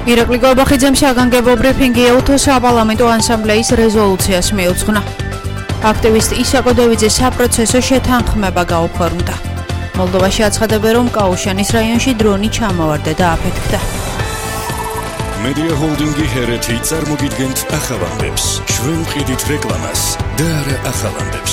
ირაკლი გორბახიძემ საგანგებო ბრიფინგი ეუთოს საპარლამენტო ასამბლეის რეზოლუციას მიუძღვნა. აქტივისტი ისაკო დევიძე საპროცესო შეთანხმება გაუფორმდა. მოლდოვაში აცხადებენ, რომ კაუშანის რაიონში დრონი ჩამოვარდა და აფეთქდა. მედია ჰოლდინგი ჰერეთი წარმოგიდგენთ ახალამდებს, ჩვენ ვყიდით რეკლამას და არა ახალამდებს.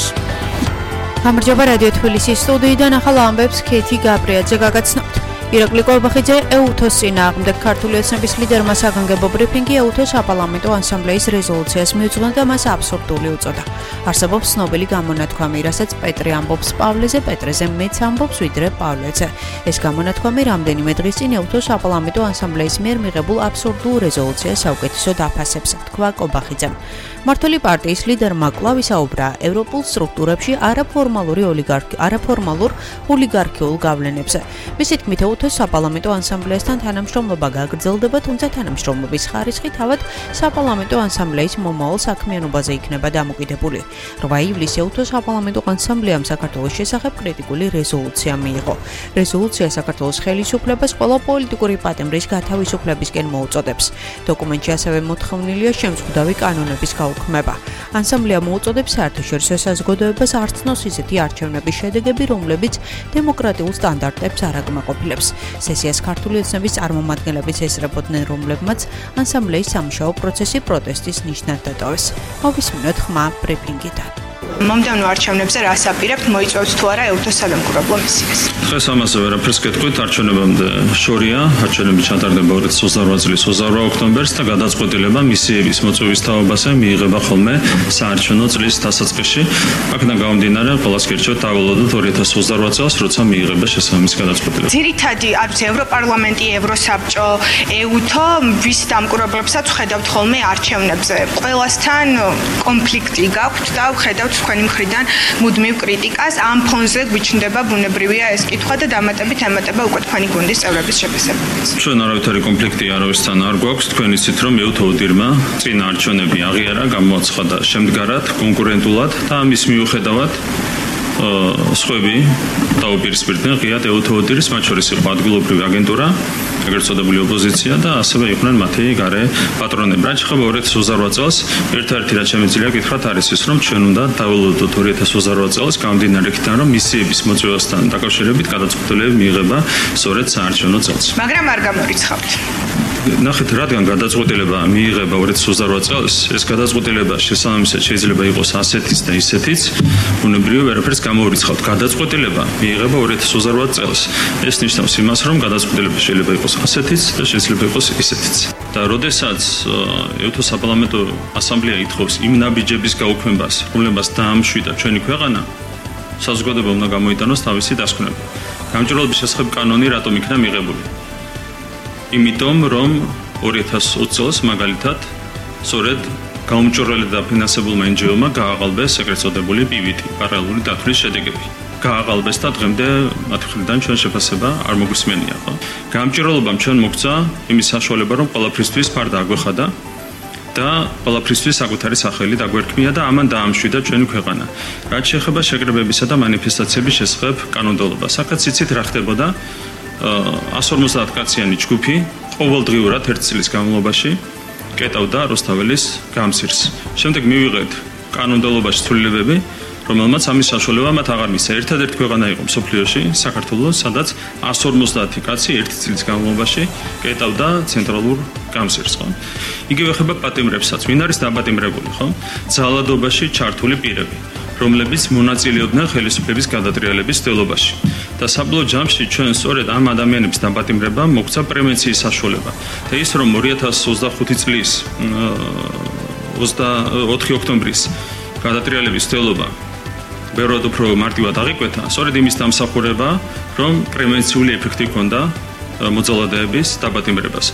გამარჯობა რადიო თბილისის სტუდიიდან ახალ ამბებს ქეთი გაბრიაძე გაგაცნობთ. ირაკლი გორბახიძე ეუთოს წინააღმდეგ ქართული ოცნების ლიდერმა საგანგებო ბრიფინგი ეუთოს საპარლამენტო ასამბლეის რეზოლუციას მიუძღვნა და მას აბსურდული უწოდა. არსებობს ცნობილი გამონათქვამი, რასაც პეტრე ამბობს პავლეზე, პეტრეზე მეც ამბობს ვიდრე პავლეზე. ეს გამონათქვამი რამდენიმე დღის წინ ეუთოს საპარლამენტო ასამბლეის მიერ მიღებულ აბსურდულ რეზოლუციას საუკეთესოდ აფასებს, თქვა გორბახიძემ. მართალი პარტიის ლიდერმა კვლავ ისაუბრა ევროპულ სტრუქტურებში არაფორმალურ ოლიგარქიულ გავლენებზე. მისი თქმით, ეუთოს საპარლამენტო ასამბლეასთან თანამშრომლობა გაგრძელდება, თუმცა თანამშრომლობის ხარისხი თავად საპარლამენტო ასამბლეის მომავალ საქმიანობაზე იქნება დამოკიდებული. 8 ივლისს ეუთოს საპარლამენტო ასამბლეამ საქართველოს შესახებ კრიტიკული რეზოლუცია მიიღო. რეზოლუცია საქართველოს ხელისუფლებას ყველა პოლიტიკური პატიმრის გათავისუფლებისკენ მოუწოდებს. დოკუმენტში ასევე მოთხოვნილია შემზღუდავი კანონების გაუქმება. ასამბლეა მოუწოდებს საერთაშორისო საზოგადოებას არ ცნოს ისეთი არჩევნების შედეგები, რომლებიც დემოკრატიულ სტანდარტებს არ აკმაყოფილებს. სესიას ქართული ოცნების წარმომადგენლების ესწრებოდნენ, რომლებმაც ასამბლეის სამუშაო პროცესი პროტესტის ნიშნად დატოვეს. მოვისმინოთ ხმა ბრიფინგიდან. მომდევნო არჩევნებზე რას აპირებთ, მოიწვევთ თუ არა ეუთოს სადემოკრატიო მისიას? დღეს ამაზე ვერაფერს გეტყვით, არჩევნებამდე შორია, არჩევნები ჩატარდება 2028 წლის 28 ოქტომბერს და გადაწყვეტილება მისიების მოწვევის თაობაზე მიიღება ხოლმე საარჩევნო წლის დასაწყისში. აქედან გამომდინარე, ყველას გერჩევთ დავალოდოთ 2028 წელს, როცა მიიღება შესაბამისი გადაწყვეტილება. ძირითადი არის ევროპარლამენტი, ევროსაბჭო, ეუთო, ვის დამკვირვებლებსაც ვხედავთ ხოლმე არჩევნებზე. ყველასთან კონფლიქტი გაქვთ და ვხედავთ თქვენი მხრიდან მუდმივ კრიტიკას. ამ ფონზე გვიჩნდება ბუნებრივია ეს კითხვა და დამატებით ემატება უკვე თქვენი გუნდის წევრების შეფასებებს. ჩვენ არავითარი კონფლიქტი არავისთან არ გვაქვს. თქვენ იცით, რომ ეუთო ოდირმა წინა არჩევნები აღიარა, გამოაცხადა შემდგარად, კონკურენტულად და ამის მიუხედავად სხვები დაუპირისპირდნენ ღიად ეუთო ოდირის, მათ შორის იყო ადგილობრივი აგენტურა, ეგრეთ წოდებული ოპოზიცია და ასევე იყვნენ მათი გარე პატრონები. რაც შეეხება 2028 წელს, ერთ-ერთი რაც შემიძლია გითხრათ არის ის, რომ ჩვენ უნდა დავალოდოთ 2028 წელს გამომდინარე იქიდან, რომ მისიების მოწვევასთან დაკავშირებით გადაწყვეტილება მიიღება სწორედ საარჩევნო წელს. მაგრამ არ გამორიცხავთ. ნახეთ, რადგან გადაწყვეტილება მიიღება 2028 წელს, ეს გადაწყვეტილება შესაბამისად შეიძლება იყოს ასეთიც და ისეთიც, ბუნებრივია ვერაფერს გამორიცხავთ. გადაწყვეტილება მიიღება 2028 წელს. ეს ნიშნავს იმას, რომ გადაწყვეტილება შეიძლება იყოს ასეთიც და შეიძლება იყოს ისეთიც. და როდესაც ეუთოს საპარლამენტო ასამბლეა ითხოვს იმ ნაბიჯების გაუქმებას, რომლებსაც დაამშვიდა ჩვენი ქვეყანა, საზოგადოება უნდა გამოიტანოს თავისი დასკვნება. გამჭვირვალობის შესახებ კანონი რატომ იქნა მიღებული? იმიტომ, რომ 2020 წელს მაგალითად სწორედ გაუმჭვირვალე და ფინანსებულმა NGO-მა გააყალბეს ეგრეთ წოდებული PVT, პარალელური დათვლის შედეგები. გააყალბეს და დღემდე მათ მხრიდან ჩვენ შეფასება არ მოგვისმენია, ხო? გამჭვირვალობამ ჩვენ მოგცა იმის საშუალება, რომ ყველაფრისთვის ფარდა აგვეხადა და ყველაფრისთვის საკუთარი სახელი დაგვერქმია და ამან დაამშვიდა ჩვენი ქვეყანა. რაც შეეხება შეკრებებისა და მანიფესტაციების შესახებ კანონმდებლობას, აქაც იცით რა ხდებოდა? 150 კაციანი ჯგუფი ყოველდღიურად 1 წლის განმავლობაში კეტავდა რუსთაველის გამზირს. შემდეგ მივიღეთ კანონმდებლობაში ცვლილებები, რომელმაც ამის საშუალება მათ აღარ მისცა. ერთადერთი ქვეყანა იყო მსოფლიოში, საქართველო, სადაც 150 კაცი 1 წლის განმავლობაში კეტავდა ცენტრალურ გამზირს, ხო? იგივე ხდება პატიმრებსაც. ვინ არის დაპატიმრებული, ხო? ძალადობაში ჩართული პირები, რომლებიც მონაწილეობდნენ ხელისუფლების გადატრიალების ცდილობაში. და საბოლოო ჯამში ჩვენ სწორედ ამ ადამიანების დაპატიმრებამ მოგცა პრევენციის საშუალება. და ის რომ 2025 წლის 4 ოქტომბრის გადატრიალების ცდილობა ბევრად უფრო მარტივად აღიკვეთა, სწორედ იმის დამსახურება, რომ პრევენციული ეფექტი ჰქონდა მოძალადეების დაპატიმრებას.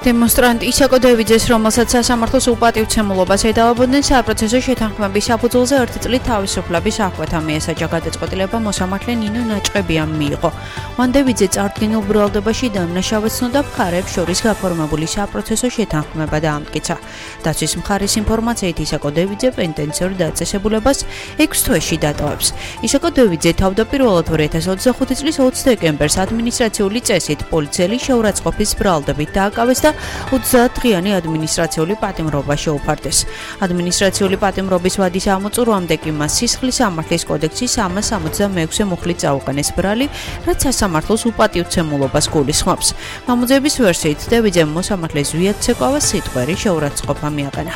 დემონსტრანტ ისაკო დევიძეს, რომელსაც სასამართლოს უპატივცემულობას ედავებოდნენ საპროცესო შეთანხმების საფუძველზე 1 წლით თავისუფლების აღკვეთა მიესაჯა. გადაწყვეტილება მოსამართლე ნინო ნაჭყებიამ მიიღო. მან დევიძე წარდგენილ ბრალდებაში დამნაშავედ ცნობდა მხარეებს შორის გაფორმებული საპროცესო შეთანხმება დაამტკიცა. დაცვის მხარის ინფორმაციით ისაკო დევიძე პენტენციურ დაწესებულებას 6 თვეში დატოვებს. ისაკო დევიძე თავდაპირველად 2025 წლის 20 დეკემბერს ადმინისტრაციული წესით პოლიციელი შეურაცხყოფის ბრალდებით დააკავეს და 30 დღიანი ადმინისტრაციული პატიმრობა შეუფარდეს. ადმინისტრაციული პატიმრობის ვადის ამოწურვამდე კი მას სისხლის სამართლის კოდექსის 366 მუხლით წაუყენეს ბრალი, რაც სასამართლოს უპატივცემულობას გულისხმობს. გამოძიების ვერსიით დევიძემ მოსამართლეს ზვიად ცეკვავა სიტყვერი შეურაცხყოფა მიაყენა.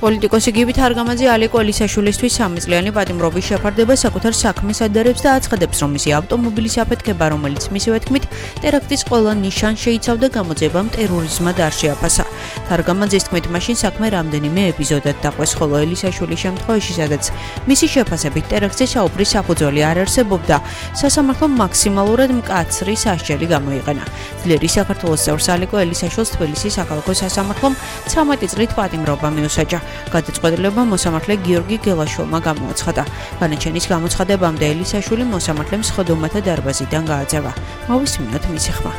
პოლიტიკოსი გივით არგამაძე ალეკო ელისაშვილისთვის 3 წლიანი პატიმრობის შეფარდება საკუთარ საქმეს ადარებს და აცხადებს, რომ მისი ავტომობილის აფეთქება, რომელიც მისივე თქმით ტერაქტის ყველა ნიშანს შეიცავდა, გამოძიებამ ტერორიზმად არ შეაფასა. არგამაძის თქმით, მაშინ საქმე რამდენიმე ეპიზოდად დაყვეს, ხოლო ელისაშვილის შემთხვევაში, სადაც მისი შეფასებით ტერაქტზე საუბრის საფუძველი არ არსებობდა, სასამართლომ მაქსიმალურად მკაცრი სასჯელი გამოიყენა. ძლიერი საქართველოს წევრს ალეკო ელისაშვილს თბილისის საქალაქო სასამართლომ 13 წლით პატიმრობა მიუსაჯა. გადაწყვეტილება მოსამართლე გიორგი გელაშვილმა გამოაცხადა. განაჩენის გამოცხადებამდე ელისაშვილი მოსამართლემ სხდომათა დარბაზიდან გააძევა. მოვისმინოთ მისი ხმა.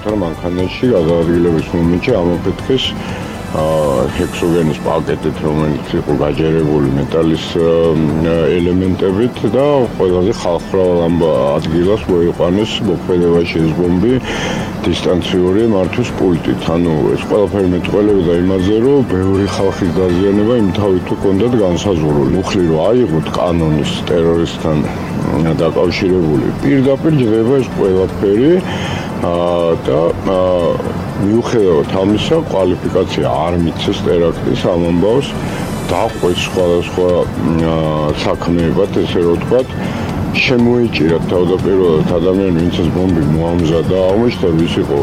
მანქანაში გადაადგილების მომენტში ამოფეთქეს ჰექსოგენის პაკეტით, რომელიც იყო გაჯერებული მეტალის ელემენტებით და ყველაზე ხალხმრავალ ადგილას მოიყვანეს მოქმედებაში ეს ბომბი დისტანციური მართვის პულტით. ანუ ეს ყველაფერი მეტყველებოდა იმაზე, რომ ბევრი ხალხის დაზიანება იმთავით ჰქონდათ განსაზღვრული. მუხლი რო აიღოთ კანონის ტერორისტთან დაკავშირებული, პირდაპირ ჯდება ეს ყველაფერი და მიუხედავად ამისა, კვალიფიკაცია არ მიცეს ტერაქტის ამ ამბავს, დაყვეს სხვადასხვა საქმეებად, ესე რომ ვთქვათ, შემოიჭირათ თავდაპირველად ადამიანი, ვინც ეს ბომბი მოამზადა, აღმოჩნდა, ვის იყო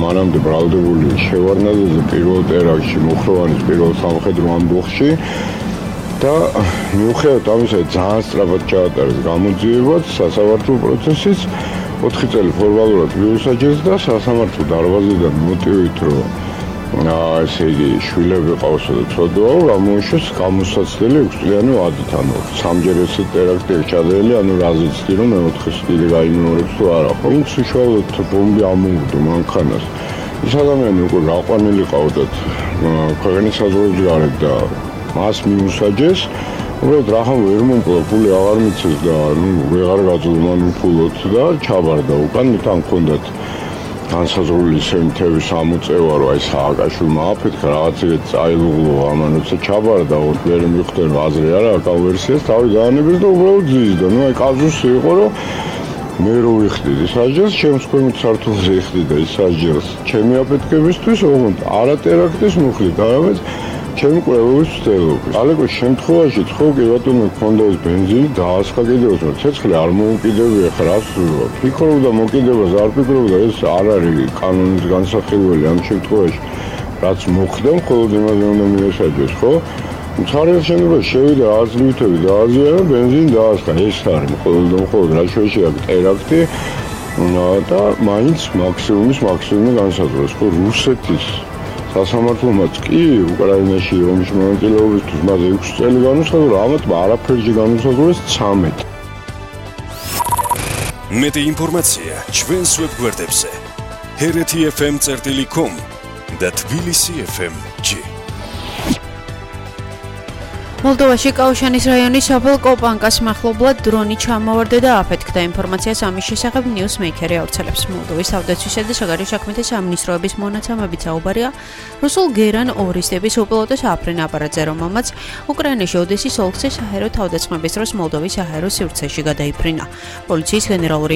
მანამდე ბრალდებული შევარდნაძეზე პირველ ტერაქტში, მუხროვანის პირველ სამხედრო ამბოხში და მიუხედავად ამისა, ძალიან სწრაფად ჩაატარეს გამოძიებაც, სასამართლო პროცესიც 4 წელი ფორმალურად მიუსაჯეს და სასამართლო დარბაზიდან მოტივით, რომ ესე იგი შვილები ყავსა და ცოდვაო, გამოუშვეს გამოსაცდელი 6 წლიანი ვადით, ანუ სამჯერ ესე ტერაქტი ჩადენილი, ანუ რაზეც კი რომ მეოთხეს კიდე გაიმეორებს თუ არა ხო. ვინც უშუალოდ ბომბი ამოუგდო მანქანას, ის ადამიანი უკვე გაყვანილი ყავდათ ქვეყნის საზღვრების გარეთ და მას მიუსაჯეს. უბრალოდ რახან ვერ მომკლა, ფული აღარ მიცეს და ვეღარ გაძლო მან უფულოდ და ჩაბარდა უკან, თან ჰქონდათ განსაზღვრული სემთების ამოწევა, რომ აი სააკაშვილმა აფეთქა რაღაცეთ წაილუღლო, ამან როცა ჩაბარდა, ვერ მიხვდნენ აზრი არა, კავერსიას თავი დაანებეს და უბრალოდ ზიზდა. ნუ აი კაზუსი იყო, რომ მე რო ვიხდიდი სასჯელს, ჩემს ქვემოთ სართულზე იხდიდა ის სასჯელს ჩემი აფეთქებისთვის, ოღონდ არა ტერაქტის მუხლით, არამედ ჩემი კვლევის ცდელობით. ალეკოს შემთხვევაში ხო კი ბატონო გქონდა ეს ბენზინი დაასხა კიდევ, რომ ცეცხლი არ მოუკიდებია ხა რას ფიქრობდა მოკიდებას, არ ფიქრობდა ეს არ არის კანონის განსახილველი ამ შემთხვევაში. რაც მოხდა, მხოლოდ იმაზე უნდა მიესაჯოს, ხო? მცირე შემთხვევაში შევიდა აზრითები დააზიანა, ბენზინი დაასხა. ეს არის მხოლოდ რა შეში აქ ტერაქტი და მაინც მაქსიმუმი განსაზღვრეს, ხო რუსეთის სასამართლომაც კი უკრაინაში ომში მონაწილეობისთვის მას 6 წელი განუსაზღვრა, ამათ არაფერში განუსაზღვრეს 13. მეტი ინფორმაცია ჩვენს ვებგვერდებზე hrt.fm.com და tbilisi.fm.g. მოლდოვაში კაუშანის რაიონის სოფელ კოპანკას მახლობლად დრონი ჩამოვარდა და აფეთქდა. ინფორმაციას ამის შესახებ ნიუსმეიკერი ავრცელებს. მოლდოვის თავდაცვისა და საგარეო საქმეთა სამინისტროების მონაცემებით საუბარია რუსულ გერან ორისტების უპილოტო საფრენ აპარატზე, რომელმაც უკრაინაში ოდესის ოლქზე საჰაერო თავდასხმების დროს მოლდოვის საჰაერო სივრცეში გადაიფრინა. პოლიციის გენერალური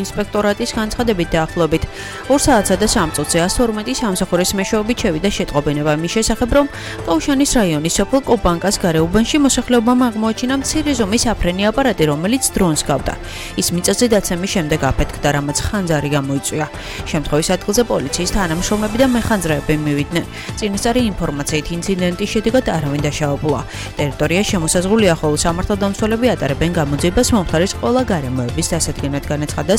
ინსპექტორატის განცხადებით დაახლოებით 2 საათსა და 3 წუთზე 112 სამსახურის მეშვეობით შევიდა შეტყობინება მის შესახებ, რომ კაუშანის რაიონის სოფელ კოპანკას გარეუბანში მოსახლეობამ აღმოაჩინა მცირე ზომის საფრენი აპარატი, რომელიც დრონს გავდა. ის მიწაზე დაცემის შემდეგ აფეთქდა, რამაც ხანძარი გამოიწვია. შემთხვევის ადგილზე პოლიციის თანამშრომლები და მეხანძრეები მივიდნენ. წინასწარი ინფორმაციით ინციდენტის შედეგად არავინ დაშავებულა. ტერიტორია შემოსაზღვრულია, ხოლო სამართალდამცველები ატარებენ გამოძიებას მომხდარის ყველა გარემოების დასადგენად, განაცხადა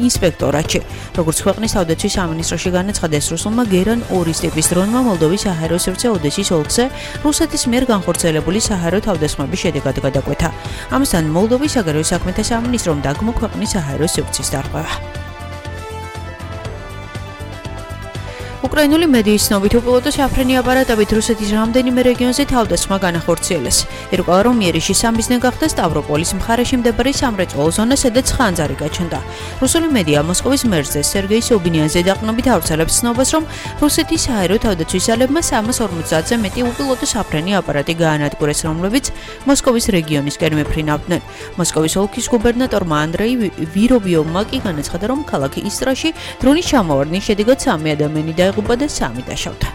ინსპექტორატში. როგორც ქვეყნის თავდაცვის სამინისტროში განაცხადეს, რუსულმა გერან 2 ტიპის დრონმა მოლდოვის საჰაერო სივრცე ოდესის ოლქზე რუსეთის მიერ განხორციელებული საჰაერო თავდასხმების შედეგად გადაკვეთა. ამასთან მოლდოვის საგარეო საქმეთა სამინისტრომ დაგმო ქვეყნის საჰაერო სივრცის დარღვევა. უკრაინული მედიის ცნობით უპილოტო საფრენი აპარატებით რუსეთის რამდენიმე რეგიონზე თავდასხმა განახორციელეს. ირკვევა, რომ იერიშის სამიზნე გახდა სტავროპოლის მხარეში მდებარე სამრეწველო ზონა, სადაც ხანძარი გაჩნდა. რუსული მედია მოსკოვის მერზე სერგეი სობინიანზე დაყრდნობით ავრცელებს ცნობას, რომ რუსეთის საჰაერო თავდაცვის ძალებმა 350-ზე მეტი უპილოტო საფრენი აპარატი გაანადგურეს, რომლებიც მოსკოვის რეგიონისკენ მეფრინავდნენ. მოსკოვის ოლქის გუბერნატორმა ანდრეი ვირობიოვმა კი განაცხადა, რომ ქალაქ ისტრაში დრონის ჩამოვარდნის შედეგად 3 ადამიანი დაიღუპა და 3 დაშავდა.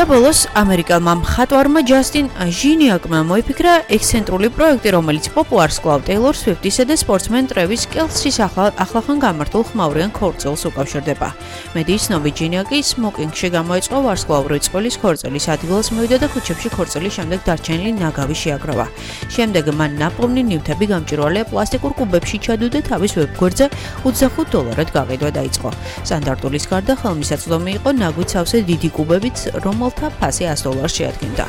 და ბოლოს ამერიკელმა მხატვარმა ჯასტინ ჟინიაკმა მოიფიქრა ექსცენტრული პროექტი, რომელიც პოპულარს კლავ ტეილორ სვიფტისა და სპორტსმენ ტრევის კელსის ახლახან გამართულ ხმაურიან ქორწილს უკავშირდება. მედიის ცნობით ჟინიაკი სმოკინგში გამოეწყო ვარსკვლავური წყვილის ქორწილის ადგილას მივიდა და ქუჩებში ქორწილის შემდეგ დარჩენილი ნაგავი შეაგროვა. შემდეგ მან ნაპოვნი ნივთები გამჭვირვალე პლასტიკურ კუბებში ჩადო და თავის ვებგვერდზე $25 გაყიდვა დაიწყო. სტანდარტულის გარდა ხელმისაწვდომი იყო ნაგვით სავსე დიდი კუბებით, რომელთა ფასი $100 შეადგენდა.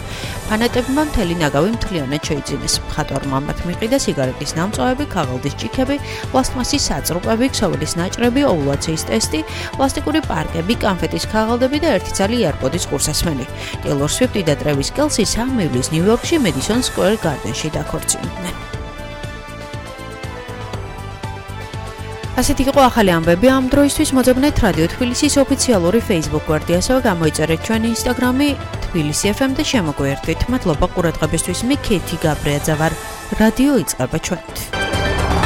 ფანატებმა მთელი ნაგავი მთლიანად შეიძინეს. მხატვარმა მათ მიყიდა სიგარეტის ნამწვავები, ქაღალდის ჭიქები, პლასტმასის საწრუპები, ქსოვილის ნაჭრები, ოვულაციის ტესტი, პლასტიკური პარკები, კანფეტის ქაღალდები და 1 ცალი იარკოდის ყურსასმელი. ტეილორ სვიფტი და ტრევის კელსი 3 ივლის ნიუ-იორკში მედისონ სკვერ გარდენში დაქორწინდნენ. ასეთი იყო ახალი ამბები ამ დროისთვის. მოძებნეთ რადიო თბილისის ოფიციალური Facebook გვერდი, ასევე გამოიწერეთ ჩვენი Instagram-ი თბილისი FM და შემოგვიერთდით. მადლობა ყურადღებისთვის. მე კეთი გაბრიაძე ვარ. რადიო იწყება ჩვენით.